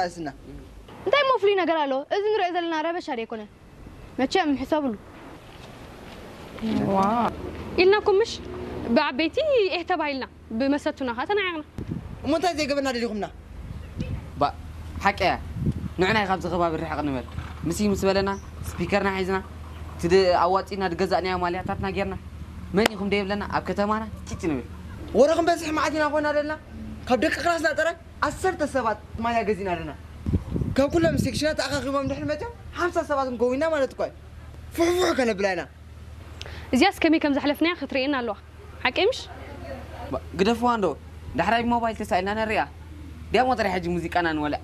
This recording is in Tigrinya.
ኣስና እንታይ እሞ ፍሉይ ነገር ኣለዎ? እዚ ንሪኦ ዘለና ረበሻ ዶ ኣይኮነን? መቸም ሕሰብሉ። ኢልናኩም ምሽ? ብዓበይቲ ኤህ ተባሂልና፣ ብመሰቱና ኸዓ ተናዒቕና። እሞ እንታይ ዘይገበና ደሊኹምና? ባ ሓቂ እያ። ንዕና ካብዚ ከባቢ ርሕቕ ንበል። ምስ ምስ በለና ስፒከርና ሒዝና ትድ ኣዋፂና ድገዛእናዮ ማልያታትና ጌርና መን ኢኹም ደይብለና ኣብ ከተማና ጭጭ ንብል። ወረ ክንበዝሕ መዓት ኢና ኮይና ዘለና። ካብ ደቂ ክላስና ጥራይ ዓሰርተ ሰባት ማልያ ገዚእና ኣለና። ካብ ኩሎም ሴክሽናት ተኣኻኺቦም ድሕሪ መፅኦም ሓምሳ ሰባት ንከውንና ማለት እኳ እዩ። ፍሕፉሕ ከነብላ ኢና። እዚኣስ ከመይ ከም ዘሕለፍናያ ክትርእየና ኣለዋ። ሓቂ ምሽ? ግደፍዋ እንዶ ዳሕራይ ብሞባይል ተሳኢልና ነሪኣ። ዲያሞ ጥራይ ሕጂ ሙዚቃና ንወልዕ።